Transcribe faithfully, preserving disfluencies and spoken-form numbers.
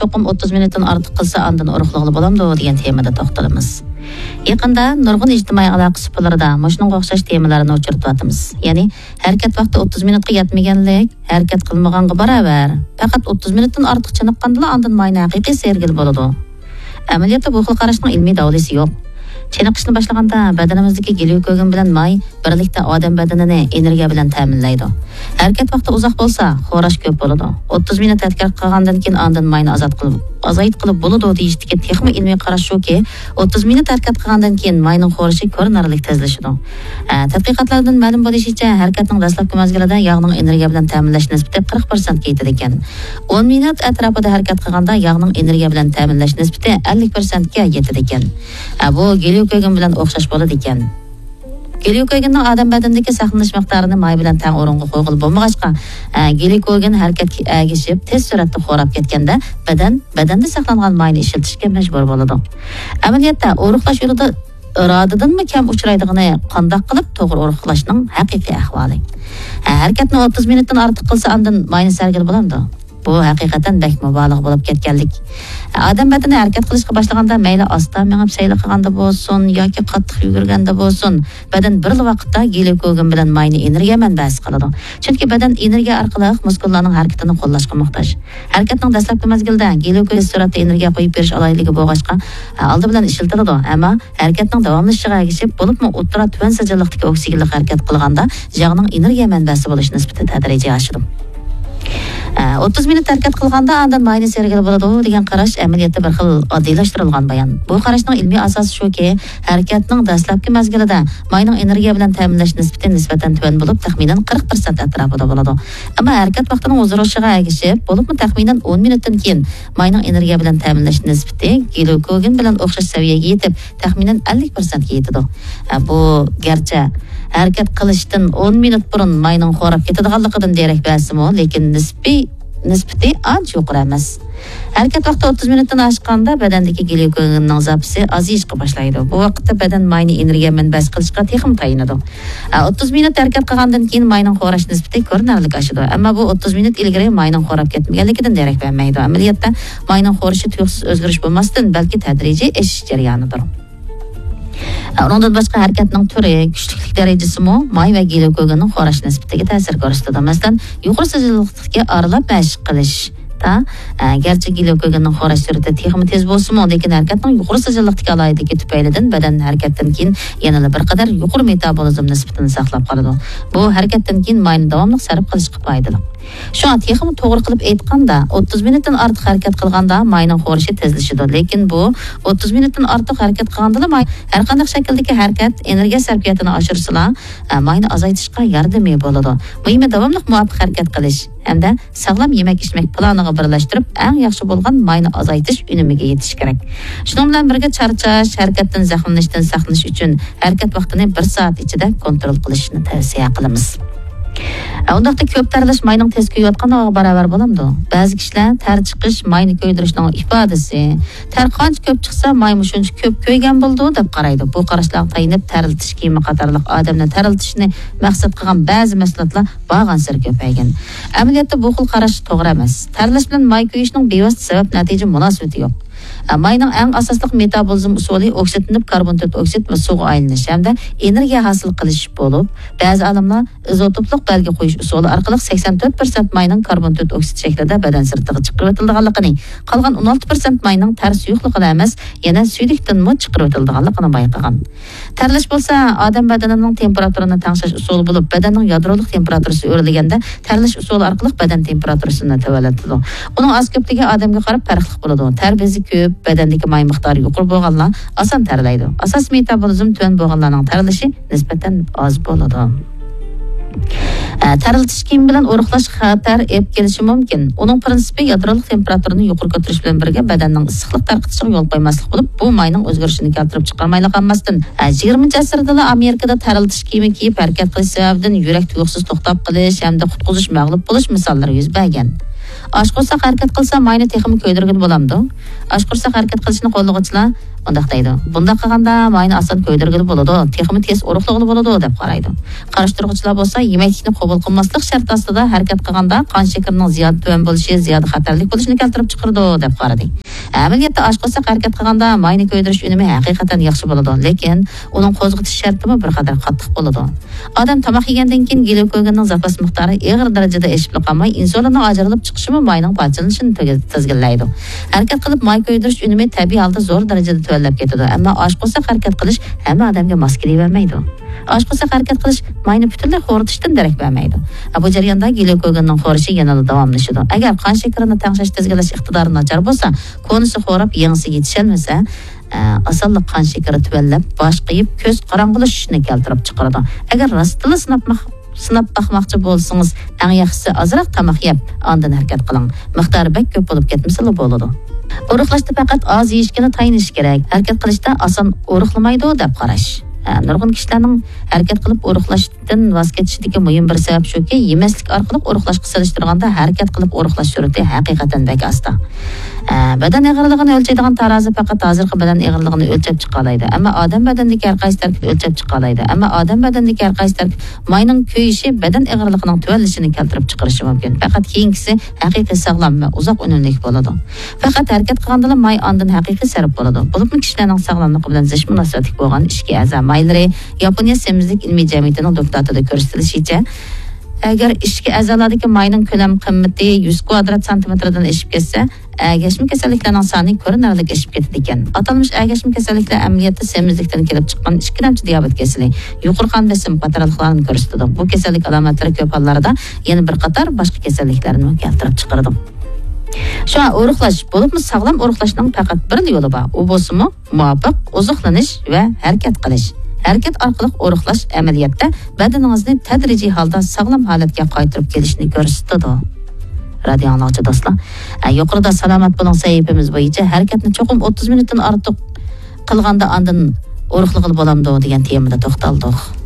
چوقۇم ئوتتۇز مىنۇتتىن ئارتۇق قىلسا، ئاندىن ئورۇقلىغىلى بولامدۇ دېگەن تېمىدا توختىلىمىز. يېقىندا نۇرغۇن ئىجتىمائىي ئالاقە سۇپىلىرىدا مۇشۇنىڭغا ئوخشاش تېمىلارنى ئۇچرىتىۋاتىمىز. يەنى، ھەرىكەت ۋاقتى ئوتتۇز مىنۇتقا يەتمىگەنلىك ھەرىكەت قىلمىغانغا باراۋەر. پەقەت ئوتتۇز مىنۇتتىن ئارتۇق چېنىققاندىلا ئاندىن ماينى ھەقىقىي سىيرگىلى بولىدۇ. ئەمەلىيەتتە بۇ خىل قاراشنىڭ ئىلمىي دالىلى يوق. چېنىقىشنى باشلىغاندا بەدىنىمىزدىكى گليۇكوگېن بىلەن ماي بىرلىكتە ئادەم بەدىنىنى ئېنېرگىيە بىلەن تەمىنلەيدۇ. ھەرىكەت ۋاقتى ئۇزاق بولسا، خوراش كۆپ بولىدۇ. ئوتتۇز مىنۇت ھەرىكەت قىلغاندىن كېيىن ئاندىن ماينى ئازاد قىلىپ، ئازايتقىلى بولىدۇ دېيىشتىكى تېخىمۇ ئىلمىي قاراش شۇكى، ئوتتۇز مىنۇت ھەرىكەت قىلغاندىن كېيىن ماينىڭ خورىشى كۆرۈنەرلىك تېزلىشىدۇ. ئە، تەتقىقاتلاردىن مەلۇم بولۇشىچە، ھەرىكەتنىڭ دەسلەپكى مەزگىلىدە ياغنىڭ ئېنېرگىيە بىلەن تەمىنلەش نىسبىتى قىرىق پىرسەنتكە يېتىدىكەن. ئون مىنۇت ئەتراپىدا ھەرىكەت قىلغاندا ياغنىڭ ئېنېرگىيە بىلەن تەمىنلەش نىسبىتى ئەللىك پىرسەنتكە يېتىدىكەن. ئە، بۇ گليۇكوگېن بىلەن ئوخشاش بولىدىكەن. گليۇكوگېننىڭ ئادەم بەدىنىدىكى ساقلىنىش مىقدارىنى ماي بىلەن تەڭ ئورۇنغا قويغىلى بولمىغاچقا، ئە، گليۇكوگېن ھەرىكەتكە ئەگىشىپ، تېز سۈرئەتتە خوراپ كەتكەندە، بەدەن بەدەندە ساقلانغان ماينى ئىشلىتىشكە مەجبۇر بولىدۇ. ئەمەلىيەتتە، ئورۇقلاش يولىدا ئىرادىدىنمۇ كەم ئۇچرايدىغىنى قانداق قىلىپ توغرا ئورۇقلاشنىڭ ھەقىقىي ئەھۋالى؟ ھە، ھەرىكەتنى ئوتتۇز مىنۇتتىن ئارتۇق قىلسا، ئاندىن ماينى سەرگىلى بولامدۇ؟ بۇ ھەقىقەتەن بەك مۇبالىغە بولۇپ كەتكەنلىك. ئادەم بەدىنى ھەرىكەت قىلىشقا باشلىغاندا، مەيلى ئاستا مېڭىپ سەيلە قىلغاندا بولسۇن ياكى قاتتىق يۈگۈرگەندە بولسۇن، بەدەن بىرلا ۋاقىتتا گليۇكوگېن بىلەن ماينى ئېنېرگىيە مەنبەسى قىلىدۇ. چۈنكى بەدەن ئېنېرگىيە ئارقىلىق مۇسكۇللارنىڭ ھەرىكىتىنى قوللاشقا موھتاج. ھەرىكەتنىڭ دەسلەپكى مەزگىلىدە گليۇكوز سۈرئەتتە ئېنېرگىيە قويۇپ بېرىش ئالاھىدىلىكى بولغاچقا، ئالدى بىلەن ئىشلىتىلىدۇ، ئەمما ھەرىكەتنىڭ داۋاملىشىشىغا ئەگىشىپ، بولۇپمۇ ئوتتۇرا تۆۋەن سىجىللىقتىكى ئوكسىگېنلىق ھەرىكەت قىلغاندا، ياغنىڭ ئېنېرگىيە مەنبەسى بولۇش نىسبىتى تەدرىجىي ئاشىدۇ. ئە، ئوتتۇز مىنۇت ھەرىكەت قىلغاندا ئاندىن ماينى سىيرگىلى بولىدۇ دېگەن قاراش ئەمەلىيەتتە بىر خىل ئاددىيلاشتۇرۇلغان بايان. بۇ قاراشنىڭ ئىلمىي ئاساسى شۇكى، ھەرىكەتنىڭ دەسلەپكى مەزگىلىدە ماينىڭ ئېنېرگىيە بىلەن تەمىنلەش نىسبىتى نىسبەتەن تۆۋەن بولۇپ، تەخمىنەن قىرىق پىرسەنت ئەتراپىدا بولىدۇ. ئەمما ھەرىكەت ۋاقتىنىڭ ئۇزىرىشىغا ئەگىشىپ، بولۇپمۇ تەخمىنەن ئون مىنۇتتىن كېيىن ماينىڭ ئېنېرگىيە بىلەن تەمىنلەش نىسبىتى گليۇكوگېن بىلەن ئوخشاش سەۋىيەگە يېتىپ، تەخمىنەن ئەللىك پىرسەنتكە يېتىدۇ. ئە، بۇ گەرچە ھەرىكەت قىلىشتىن ئون مىنۇت بۇرۇن ماينىڭ خوراپ كېتىدىغانلىقىدىن دېرەك بەرسىمۇ، لېكىن نىسپىي، نىسبىتى ئانچە يۇقىرى ئەمەس. ھەرىكەت ۋاقتى ئوتتۇز مىنۇتتىن ئاشقاندا بەدەندىكى گليۇكوگېننىڭ زاپىسى ئازىيىشقا باشلايدۇ. بۇ ۋاقىتتا بەدەن ماينى ئېنېرگىيە مەنبەسى قىلىشقا تېخىمۇ تايىنىدۇ. ئە، ئوتتۇز مىنۇت ھەرىكەت قىلغاندىن كېيىن ماينىڭ خوراش نىسبىتى كۆرۈنەرلىك ئاشىدۇ. ئەمما بۇ ئوتتۇز مىنۇت ئىلگىرى ماينىڭ خوراپ كەتمىگەنلىكىدىن دېرەك بەرمەيدۇ. ئەمەلىيەتتە، ماينىڭ خورىشى تۇيۇقسىز ئۆزگىرىش بولماستىن، بەلكى تەدرىجىي ئېشىش جەريانىدۇر. ئۇنىڭدىن باشقا، ھەرىكەتنىڭ تۈرى، كۈچلۈكلۈك دەرىجىسىمۇ ماي ۋە گليۇكوگېننىڭ خوراش نىسبىتىگە تەسىر كۆرسىتىدۇ. مەسىلەن، يۇقىرى سىجىللىقتىكى ئارىلاپ مەشىق قىلىشتا، ئە، گەرچە گليۇكوگېننىڭ خوراش سۈرئىتى تېخىمۇ تېز بولسىمۇ، لېكىن ھەرىكەتنىڭ يۇقىرى سىجىللىقتىكى ئالاھىدىلىكى تۈپەيلىدىن بەدەن ھەرىكەتتىن كېيىن يەنىلا بىر قەدەر يۇقىرى مېتابولىزم نىسبىتىنى ساقلاپ قالىدۇ. بۇ ھەرىكەتتىن كېيىن ماينى داۋاملىق سەرپ قىلىشقا پايدىلىق. شۇڭا تېخىمۇ توغرا قىلىپ ئېيتقاندا، ئوتتۇز مىنۇتتىن ئارتۇق ھەرىكەت قىلغاندا ماينىڭ خورىشى تېزلىشىدۇ. لېكىن بۇ ئوتتۇز مىنۇتتىن ئارتۇق ھەرىكەت قىلغاندىلا ماي، ھەر قانداق شەكىلدىكى ھەرىكەت ئېنېرگىيە سەرپىياتىنى ئاشۇرسىلا، ئە، ماينى ئازايتىشقا ياردىمى بولىدۇ. مۇھىمى داۋاملىق مۇۋاپىق ھەرىكەت قىلىش ھەمدە ساغلام يېمەك-ئىچمەك پىلانىغا بىرلەشتۈرۈپ، ئەڭ ياخشى بولغان ماينى ئازايتىش ئۈنۈمىگە يېتىش كېرەك. شۇنىڭ بىلەن بىرگە، چارچاش، ھەرىكەتتىن زەخىملىنىشتىن ساقلىنىش ئۈچۈن ھەرىكەت ۋاقتىنى بىر سائەت ئىچىدە كونترول قىلىشنى تەۋسىيە قىلىمىز. ئە، ئۇنداقتا كۆپ تەرلەش ماينىڭ تېز كۆيۈۋاتقانلىقىغا باراۋەر بولامدۇ؟ بەزى كىشىلەر تەر چىقىش ماينى كۆيدۈرۈشنىڭ ئىپادىسى، تەر قانچە كۆپ چىقسا، مايمۇ شۇنچە كۆپ كۆيگەن بولىدۇ، دەپ قارايدۇ. بۇ قاراشلارغا تايىنىپ، تەرلىتىش كىيىمى قاتارلىق ئادەمنى تەرلىتىشنى مەقسەت قىلغان بەزى مەھسۇلاتلار بارغانسېرى كۆپەيگەن. ئەمەلىيەتتە بۇ خىل قاراش توغرا ئەمەس. تەرلەش بىلەن ماي كۆيۈشنىڭ بىۋاسىتە سەۋەب-نەتىجە مۇناسىۋىتى يوق. ئە، ماينىڭ ئەڭ ئاساسلىق مېتابولىزم ئۇسۇلى ئوكسىدلىنىپ، كاربون تۆت ئوكسىد ۋە سۇغا ئايلىنىش ھەمدە ئېنېرگىيە ھاسىل قىلىش بولۇپ، بەزى ئالىملار ئىزوتوپلۇق بەلگە قويۇش ئۇسۇلى ئارقىلىق سەكسەن تۆت پىرسەنت ماينىڭ كاربون تۆت ئوكسىد شەكلىدە بەدەن سىرتىغا چىقىرىۋېتىلىدىغانلىقىنى، قالغان ئون ئالتە پىرسەنت ماينىڭ تەر سۇيۇقلۇقىدا ئەمەس، يەنە سۈيدۈكتىنمۇ چىقىرىۋېتىلىدىغانلىقىنى بايقىغان. تەرلەش بولسا ئادەم بەدىنىنىڭ تېمپېراتۇرىنى تەڭشەش ئۇسۇلى بولۇپ، بەدەننىڭ يادرولۇق تېمپېراتۇرىسى ئۆرلىگەندە، تەرلەش ئۇسۇلى ئارقىلىق بەدەن تېمپېراتۇرىسىنى تۆۋەنلىتىدۇ. ئۇنىڭ ئاز-كۆپلۈكى ئادەمگە قاراپ پەرقلىق بولىدۇ. تەر بېزى كۆپ، بەدەندىكى ماي مىقدارى يۇقىرى بولغانلار ئاسان تەرلەيدۇ. ئاساسىي مېتابولىزم تۆۋەن بولغانلارنىڭ تەرلىشى نىسبەتەن ئاز بولىدۇ. ئە، تەرلىتىش كىيىمى بىلەن ئورۇقلاش خەتەر ئېلىپ كېلىشى مۇمكىن. ئۇنىڭ پىرىنسىپى يادرولۇق تېمپېراتۇرىنى يۇقىرى كۆتۈرۈش بىلەن بىرگە بەدەننىڭ ئىسسىقلىق تارقىتىشىغا يول قويماسلىق بولۇپ، بۇ ماينىڭ ئۆزگىرىشىنى كەلتۈرۈپ چىقارمايلا قالماستىن، ئە، يىگىرمىنچى ئەسىردىلا ئامېرىكىدا تەرلىتىش كىيىمى كىيىپ ھەرىكەت قىلىش سەۋەبىدىن يۈرەك تۇيۇقسىز توختاپ قېلىش ھەمدە قۇتقۇزۇش مەغلۇپ بولۇش مىساللىرى يۈز بەرگەن. ئاچ قورساق ھەرىكەت قىلسا، ماينى تېخىمۇ كۆيدۈرگىلى بولامدۇ؟ ئاچ قورساق ھەرىكەت قىلىشنى قوللىغۇچىلار مۇنداق دەيدۇ: بۇنداق قىلغاندا ماينى ئاسان كۆيدۈرگىلى بولىدۇ، تېخىمۇ تېز ئورۇقلىغىلى بولىدۇ، دەپ قارايدۇ. قارشى تۇرغۇچىلار بولسا، يېمەكلىكنى قوبۇل قىلماسلىق شەرتى ئاستىدا ھەرىكەت قىلغاندا قان شېكىرىنىڭ زىيادە تۆۋەن بولۇشى زىيادە خەتەرلىك بولۇشىنى كەلتۈرۈپ چىقىرىدۇ، دەپ قارىدى. ئەمەلىيەتتە ئاچ قورساق ھەرىكەت قىلغاندا ماينى كۆيدۈرۈش ئۈنۈمى ھەقىقەتەن ياخشى بولىدۇ، لېكىن ئۇنىڭ قوزغىتىش شەرتىمۇ بىر قەدەر قاتتىق بولىدۇ. ئادەم تاماق يېگەندىن كېيىن گليۇكوگېننىڭ زاپاس مىقدارى ئېغىر دەرىجىدە ئېشىپلا قالماي، ئىنسۇلىننىڭ ئاجرىلىپ چىقىشىمۇ ماينىڭ پارچىلىنىشىنى تىز-، تىزگىنلەيدۇ. ھەرىكەت قىلىپ ماي كۆيدۈرۈش ئۈنۈمى تەبىئىي ھالدا زور دەرىجىدە تۆۋەنلەپ كېتىدۇ، ئەمما ئاچ قورساق ھەرىكەت قىلىش ھەممە ئادەمگە ماس كېلىۋەرمەيدۇ. ئاچ قورساق ھەرىكەت قىلىش ماينى پۈتۈنلەي خورىتىشتىن دېرەك بەرمەيدۇ. بۇ جەرياندا گليۇكوگېننىڭ خورىشى يەنىلا داۋاملىشىدۇ. ئەگەر قان شېكىرىنى تەڭشەش، تىزگىنلەش ئىقتىدارى ناچار بولسا، كونىسى خوراپ، يېڭىسى يېتىشەلمىسە، ئە، ئاسانلا قان شېكىرى تۆۋەنلەپ، باش قېيىپ، كۆز قاراڭغۇلىشىشنى كەلتۈرۈپ چىقىرىدۇ. ئەگەر راستلا سىناپ ماق-، سىناپ باقماقچى بولسىڭىز، ئەڭ ياخشىسى ئازراق تاماق يەپ، ئاندىن ھەرىكەت قىلىڭ. مىقدارى بەك كۆپ بولۇپ كەتمىسىلا بولىدۇ. ئورۇقلاشتا پەقەت ئاز يېيىشكىلا تايىنىش كېرەك. ھەرىكەت قىلىشتا ئاسان ئورۇقلىمايدۇ دەپ قاراش. ئە، نۇرغۇن كىشىلەرنىڭ ھەرىكەت قىلىپ ئورۇقلاشتىن ۋاز كېچىشىدىكى مۇھىم بىر سەۋەب شۇكى، يېمەسلىك ئارقىلىق ئورۇقلاشقا سېلىشتۇرغاندا ھەرىكەت قىلىپ ئورۇقلاش سۈرئىتى ھەقىقەتەن بەك ئاستا. ئە، بەدەن ئېغىرلىقىنى ئۆلچەيدىغان تارازا پەقەت ھازىرقى بەدەن ئېغىرلىقىنى ئۆلچەپ چىقالايدۇ. ئەمما ئادەم بەدەنىدىكى ھەر قايسى تەركىب ئۆلچەپ چىقالايدۇ. ئەمما ئادەم بەدەنىدىكى ھەر قايسى تەركىب ماينىڭ كۆيۈشى بەدەن ئېغىرلىقىنىڭ تۆۋەنلىشىنى كەلتۈرۈپ چىقىرىشى مۇمكىن. پەقەت كېيىنكىسى ھەقىقىي ساغلام ۋە ئۇزاق ئۈنۈملۈك بولىدۇ. پەقەت ھەرىكەت قىلغاندىلا ماي ئاندىن ھەقىقىي سەرپ بولىدۇ. بولۇپمۇ كىشىلەرنىڭ ساغلاملىقى بىلەن زىچ مۇناسىۋەتلىك بولغان ئىچكى ئەزا مايلىرى ياپونىيە سېمىزلىك ئىلمىي جەمئىيىتىنىڭ دوكلاتىدا كۆرسىتىلىشىچە، ئەگەر ئىچكى ئەزالاردىكى ماينىڭ كۆلەم قىممىتى يۈز كۋادرات سانتىمېتىردىن ئېشىپ كەتسە، ئەگەشمە كېسەللىكلەرنىڭ سانى كۆرۈنەرلىك ئېشىپ كېتىدىكەن. ئاتالمىش ئەگەشمە كېسەللىكلەر ئەمەلىيەتتە سېمىزلىكتىن كېلىپ چىققان ئىككىلەمچى دىيابېت كېسىلى، يۇقىرى قان بېسىم قاتارلىقلارنى كۆرسىتىدۇ. بۇ كېسەللىك ئالامەتلىرى كۆپ ھاللاردا يەنە بىر قاتار باشقا كېسەللىكلەرنىمۇ كەلتۈرۈپ چىقىرىدۇ. شۇڭا ئورۇقلاش، بولۇپمۇ ساغلام ئورۇقلاشنىڭ پەقەت بىرلا يولى بار. ئۇ بولسىمۇ مۇۋاپىق ئوزۇقلىنىش ۋە ھەرىكەت قىلىش. ھەرىكەت ئارقىلىق ئورۇقلاش ئەمەلىيەتتە بەدىنىڭىزنى تەدرىجىي ھالدا ساغلام ھالەتكە قايتۇرۇپ كېلىشنى كۆرسىتىدۇ. رادىيو ئاڭلىغۇچى دوستلار، ئە، يۇقىرىدا سالامەت بولۇڭ سەھىپىمىز بويىچە ھەرىكەتنى چوقۇم ئوتتۇز مىنۇتتىن ئارتۇق قىلغاندا ئاندىن ئورۇقلىغىلى بولامدۇ دېگەن تېمىدا توختالدۇق.